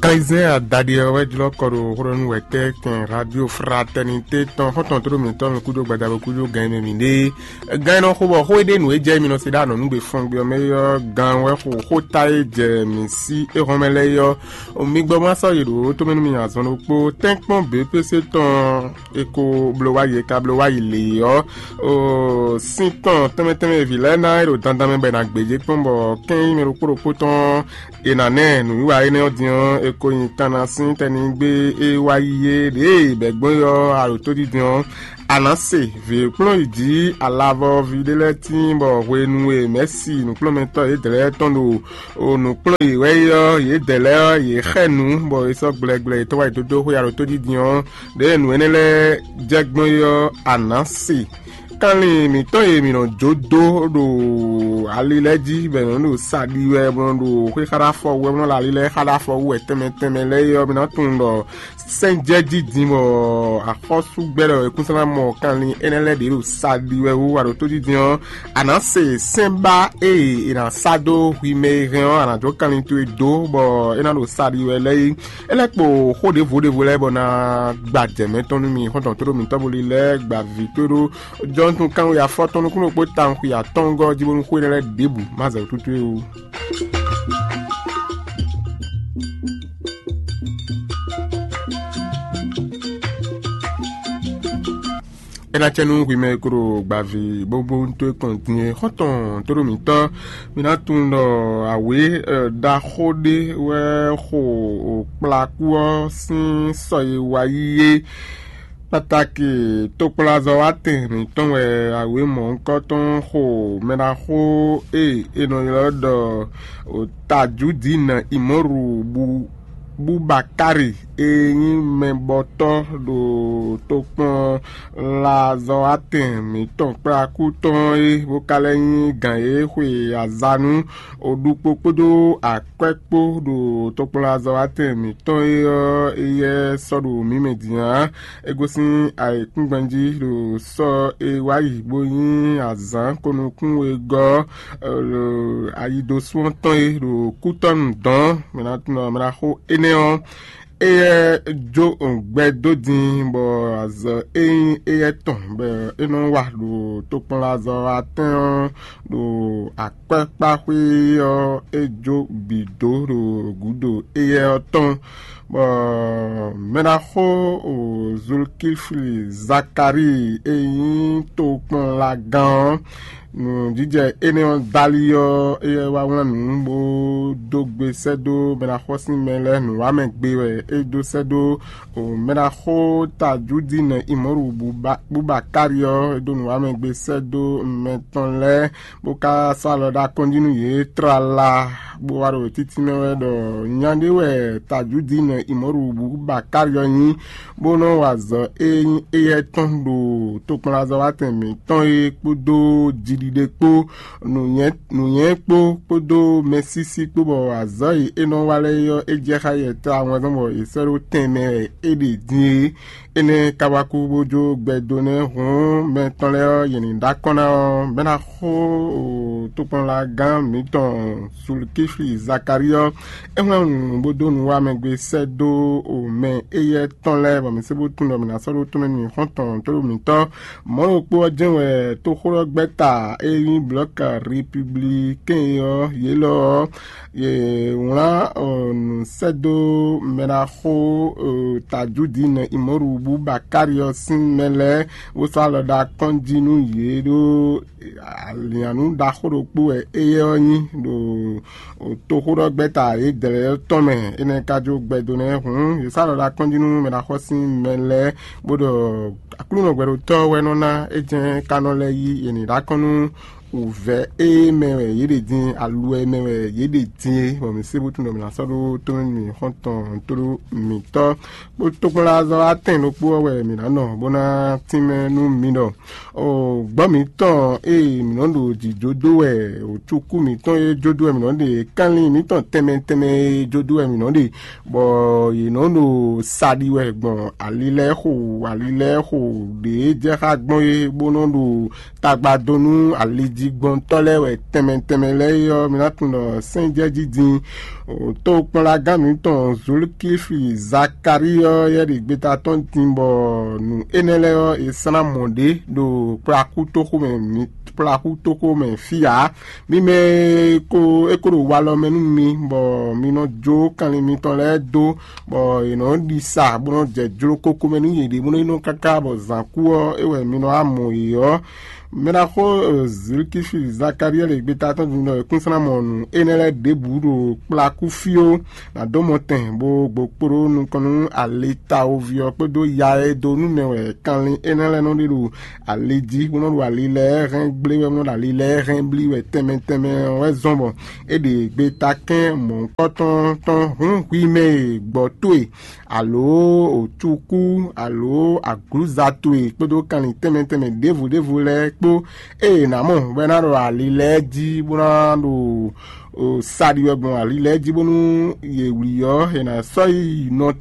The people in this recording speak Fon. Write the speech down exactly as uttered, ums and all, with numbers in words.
Kanzɛ́n adaɖé ɔ́ wɛ jlɔ́ kɔ ɖo xó ɖɔ nú wɛ̌tɛ́ kɛn Radio Fraternité tɔn xɔ́ntɔn tlóló mǐtɔn mi kúdó gbadabo kúdó gan e mɛ mǐ ɖe. Gan e nɔ xo bɔ xó e ɖe nǔ e jɛ mi nɔ se ɖó anɔ̌nugbe fɔngbe ɔ́ mɛ é ɔ́, gan wɛ xo xóta e jɛ mǐ sí éhɔ́n mɛ lɛ́ɛ é ɔ́. Mi gbɔ ma sɔ́ yi ɖǒ tómɛ nú mi azɔn ɖokpó tɛ́nkpɔ́n B P C tɔn e ko bló wá yi e ka bló wá yi lě ɔ́, sin tɔn tɛnmɛ tɛnmɛ e vǐ lɛ́ɛ ná e ɖo dandan mɛ bɔ è nǎ gbéjé kpɔ́n bɔ kɛ́n nyí mɛ ɖokpó ɖokpó tɔn è nǎ nɛ nǔwiwa énɛ́ ɔ́ din ɔ́, è ko nyi kanna sín tɛnigbe e wá yi é ɖěe bɛ̌ gbɔn é ɔ́, a ɖo tódídin ɔ́, a nǎ se vǐ e kplɔ́n yi jǐ alavɔví ɖé lɛ́ɛ tíin bɔ hwenu e mɛ̌si nǔkplɔ́nmɛtɔ́ yědɛɛ lɛ́ɛ tɔn ɖo nǔ kplɔ́n yě wɛ é ɔ́, yědɛɛ lɛ́ɛ ɔ́, yě xɛ nǔ bɔ è sɔ́ gblɛgbla yětɔn wá yi dó dó xwé alɔtódídin ɔ́, ɖěe nǔ énɛ́ lɛ́ɛ jɛ gbɔn é ɔ́, a nǎ se. Kanlin mǐtɔn e mǐ nɔ jó dó ɖo ali lɛ́ɛ jí, bɔ è nɔ ɖo sa ɖi wɛ, bɔ nɔ ɖo xwé xa ɖó afɔ wú wɛ, bɔ nɔ ɖo ali lɛ́ɛ xa ɖó afɔ wú wɛ tɛnmɛ tɛnmɛ lɛ́ɛ é ɔ́, mi ná tunwun ɖɔ sɛ́n jɛ jí din bɔ axɔ́súgbɛ́ ɖɔ è kún sɔ́ ná mɔ kanlin énɛ́ lɛ́ɛ ɖě ɖo sa ɖi wɛ wú a ɖo tó jí din ɔ́, a nǎ se sɛ́n ba e è nǎ sá dó hwi mɛ e hɛn ɔ́, a nǎ jó kanlin towe dó bɔ é ná ɖo sa ɖi wɛ lɛ́ɛ é. É lɛ́ kpo xó ɖěvo ɖěvo lɛ́ɛ bɔ ná gba jɛ mɛtɔn nú mi xɔ́ntɔn tóɖó mǐtɔn bo lilɛ gba vǐ tóɖó jɔnutun kanwe afɔtɔn nukúnnú kpó tawun xwi atɔ́ɔ́ngɔ́ jí bónú xó énɛ́ lɛ́ɛ ɖěbǔ má zɛ wǔtútú é wú. É ná cɛ nú hwi mɛ e ko ɖo gbaví bóbóntɔ́ e kɔn din é xɔ́ntɔn tóɖó mǐtɔn. Mi ná tunwun ɖɔ awě ɖaxó ɖé wɛ xo kplakú ɔ́ sín sɔ e wá yí é. Kpatáki tokplazɔ́watɛn mǐtɔn wɛ awě mɔ̌hunkɔtɔn xo mɛɖaxó e è nɔ ylɔ́ ɖɔ Tajudina Imɔ́ru Bubakari e nyí mɛbɔtɔ́ ɖo tokpɔnlazɔ́watɛn mǐtɔn kplakú tɔn é, bó ka lɛ́ nyí gǎn e xwe aza nú oɖukpo kpódó akwɛ́ kpó ɖo tokplɔ́azɔ́watɛn mǐtɔn é ɔ́, éyɛ́ sɔ́ ɖo mǐ mɛ din ǎ. É gosín ayǐkúngban jí ɖo sɔ́ e wá yi bó nyí azǎn konukún wegɔ́ ɔ́, ayi dó sú ɔ́ tɔn é ɖo kútɔ́nu dɔ̌n mɛ ná tunɔ mɛ ná xo énɛ́ ɔ́. Éyɛ́ jó gbɛ dó din bɔ azɔ̌ e nyí éyɛ́ tɔn bɔ é nɔ wa ɖo tokpɔnlazɔ́watɛn ɔ́ ɖo akwɛ́kpáxwé ɔ́, é jó bǐ dó ɖo gǔdo éyɛ́ ɔ́ tɔn, bɔ mɛɖaxó Zulkifli Zakalíi e nyí tokpɔnlagán ɔ́, nǔjijɛ énɛ́ ɔ́ dali ɔ́, éyɛ́ wá wlán nǔ bó dó gbe sɛ́ dó mɛɖaxó sín mɛ lɛ́ɛ nǔwamɛ gbe wɛ é dó sɛ́ dó mɛɖaxó Tajudina Imɔ́ru Bubakari ɔ́, é dó nǔwamɛ gbe sɛ́ dó mɛ tɔn lɛ́ɛ bó ka sɔ́ alɔ ɖó akɔ́njí nú yě tlala, bó wá ɖo títí mɛ wɛ ɖɔ nya ɖé wɛ Tajudina Imɔ́ru Bubakari ɔ́ nyí, bó nɔ́ wa azɔ̌ e nyí éyɛ́ tɔn ɖo tokpɔnlazɔ́watɛn mǐtɔn é kpódó jiɖiɖe kpó, nǔnywɛ́ kpó kpódó mɛsísí kpó, bɔ azɔ̌ e é nɔ wa lɛ́ɛ é ɔ́, é jɛ xá yɛ tlawɛn zɔn bɔ è sɛ́ ɖó tɛnmɛ wɛ é ɖe din é. Énɛ́ ka wá kú bó jó gbɛ dó nɛ́ hǔn mɛ tɔn lɛ́ɛ ɔ́, yě ní ɖó akɔ́n ná ɔ́, mɛ̌ ná xo tokpɔnlagán mǐtɔn Zulkifli Zakalíi ɔ́? É hwlɛ́n nǔ bó dó nǔ wá mɛ gbe sɛ́ dó mɛ éyɛ́ tɔn lɛ́ɛ, bɔ mǐ sé bó tunwun ɖɔ mǐ ná sɔ́ ɖó tɔ́n mɛ nú mǐ xɔ́ntɔn tóɖó mǐtɔn. Mɔ̌ ɖokpó ɔ́ jɛ́n wɛ tóxóɖɔgbɛ́ta e nyí Blɔ̌k Repiblikɛ́n é ɔ́, yě lɔ ɔ́, yě wlán nǔ sɛ́ dó mɛɖaxó Tajudina Imɔ́ru Bubakari ɔ́ sín mɛ lɛ́ɛ, bó sɔ́ alɔ ɖó akɔ́n jí nú yě ɖó alǐannú ɖaxó ɖokpó wɛ éyɛ́ ɔ́ nyí ɖo toxóɖɔgbɛ́ta yědɛɛ lɛ́ɛ tɔn mɛ. Énɛ́ ka jó gbɛdo nɛ́ hǔn, yě sɔ́ alɔ ɖó akɔ́n jí nú mɛɖaxó sín mɛ lɛ́ɛ, bó ɖɔ Aklúnɔ gbɛɖotɔ́ wɛ nɔ ná é jɛ́n ka nɔ lɛ́ yí yě ní ɖó akɔ́n nú wǔvɛ́ e mɛ wɛ yě ɖe din, aluwɛ mɛ wɛ yě ɖe din é, bɔ mǐ sé bó tunwun ɖɔ mǐ ná sɔ́ ɖó tɔ́n nú mǐ xɔ́ntɔn tóɖó mǐtɔn. Kpó tokpɔnlazɔ́ atɛn ɖokpó ɔ́ wɛ mǐ ná nɔ bó ná tínmɛ nú mi ɖɔ gbɔ́ mǐtɔn e mǐ nɔ ɖo jǐjó dó wɛ, cukú mǐtɔn e jó dó wɛ mǐ nɔ ɖe, kanlin mǐtɔn tɛnmɛ tɛnmɛ e jó dó wɛ mǐ nɔ ɖe, bɔ yě nɔ ɖo sa ɖi wɛ gbɔn ali lɛ́ɛ xo, ali lɛ́ɛ xo ɖě jɛ xá gbɔn é, bó nɔ ɖo tagba dó nú ali Jigbɔntɔ́ lɛ́ɛ wɛ tɛnmɛ tɛnmɛ lɛ́ɛ é ɔ́, mi ná tunwun ɖɔ sɛ́n jɛ jí din. Tokpɔnlagán mǐtɔn Zulkífi Zakalíi ɔ́ yɛ ɖi gbeta tɔn din bɔ nǔ énɛ́ lɛ́ɛ ɔ́, è slán mɔ̌ ɖé ɖo kplakútoxo mɛ, kplakútoxo mɛ fí ǎ. Mi mɛ e ko é ko ɖo walɔ mɛ nú mi, bɔ mi nɔ jó kanlin mitɔn lɛ́ɛ dó, bɔ è nɔ ɖi sa bó nɔ jɛ jló kókó mɛ nú yěɖée bónú é nɔ káká bɔ zǎn kú ɔ́, é wɛ mi nɔ wá mɔ yě ɔ́. Mɛɖaxó Zilkífi Zakaliyɛ́li gbeta tɔn din ɖɔ yěkúnslán mɔ nǔ énɛ́ lɛ́ɛ ɖěbǔ ɖo kplakú fí ó, nǎ dó mɔ tɛn bó gbokpóɖó nukɔn nú alitawoví ɔ́ kpódó ya e dó nú mɛ wɛ kanlin énɛ́ lɛ́ɛ nɔ ɖe ɖo ali jí, bó nɔ ɖo ali lɛ́ɛ hɛn gblé wɛ, bó nɔ ɖo ali lɛ́ɛ hɛn blí wɛ tɛnmɛ tɛnmɛ ɔ́ wɛ zɔ́n bɔ é ɖe gbeta kɛ́n mɔ̌hunkɔtɔn tɔn hǔn hwi mɛ e gbɔ towe, alǒ òcukú, alǒ aglǔza towe kpódó kanlin tɛnmɛ tɛnmɛ ɖěvo ɖěvo lɛ́ɛ kpó. Ée è nǎ mɔ bɔ é ná ɖo ali lɛ́ɛ jí bó ná ɖo sa ɖi wɛ gbɔn ali lɛ́ɛ jí bónú yě wlí ɔ́, è nǎ sɔ́ yi nɔ